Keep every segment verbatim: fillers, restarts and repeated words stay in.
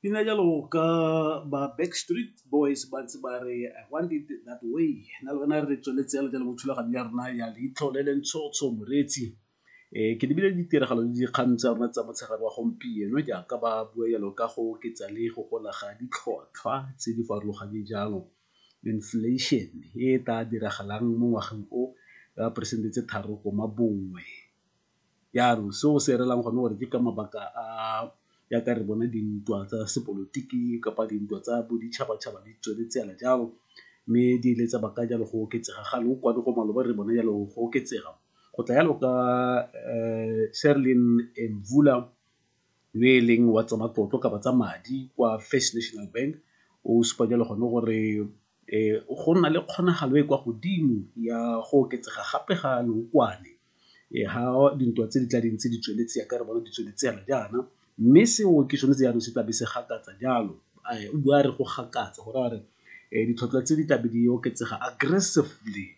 Pina jalo ka ba Backstreet Boys ba ntse ba re "I want it that way". Nna le wena re tsweletse jalo jalo mo thulaganyo ya rona ya Leitlho le le Ntshotsho moreetsi. Ke lebile ditiragalo le dikgang tsa rona tsa motshegare wa gompieno jaaka ba bua jalo ka go oketsa le go gola ga ditlhotlhwa tse di farologaneng jalo, inflation e e tla diragalang mo ngwageng o ka poresente tse tharo comma bongwe. Jaanong seo se reelang gone gore ke ka mabaka a jaaka re bona dintwa tsa sepolotiki kapa dintwa tsa boditšhabatšhaba di tsweletse fela jalo, mme di ile tsa baka jalo go oketsega ga leokwane go maloba re bone jalo go oketsega. Go tla jalo ka Mvula yo e leng wa tsa matlotlo kapa tsa madi kwa First National Bank o supa jalo gone gore go nna le kgonagalo e e kwa godimo ya go oketsega gape ga leokwane ga dintwa tse di tla ding tse di tsweletse jaaka re bona di tsweletse fela jaana, mme seo ke sone se jaanong se tlabe se gakatsa jalo, o bua a re go gakatsa go raya gore ditlhotlhwa tse di tlabe di oketsega aggressively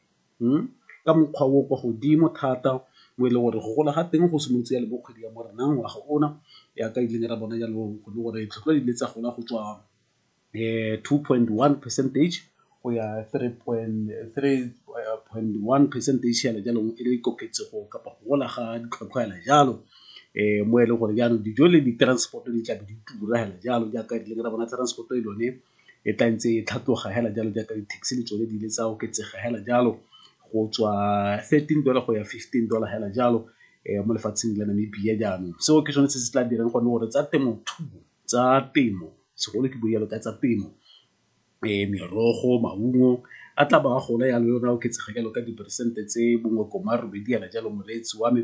ka mokgwa o o kwa godimo thata mo e leng gore go gola ga teng go simolotse jalo mo kgwedi ya Moranang ngwaga ona jaaka ileng ra bona jalo gore ditlhotlhwa di ile tsa gola go tswa two point one percentage go ya three point three point one percentage fela jalo e le koketsego kapa go gola ga ditlhwatlhwa fela jalo. Mo e leng gore jaanong dijo le di-transport-o di tlabe di tura fela jalo jaaka re ra bona transport-o le yone e tla ntse e tlhatloga fela jalo jaaka di-taxi le tsone di ile tsa oketsega fela jalo go tswa thirteen dollar go ya fifteen dollar fela jalo mo lefatsheng la Namibia jaanong. Seo ke sone se se tla dirang gone gore tsa temothuo, tsa temo segolo ke bue jalo ka tsa temo, merogo, maungo a tla ba a gola jalo le one a oketsega jalo ka diperesente tse bongwe comma robedi fela jalo moreetsi wa me.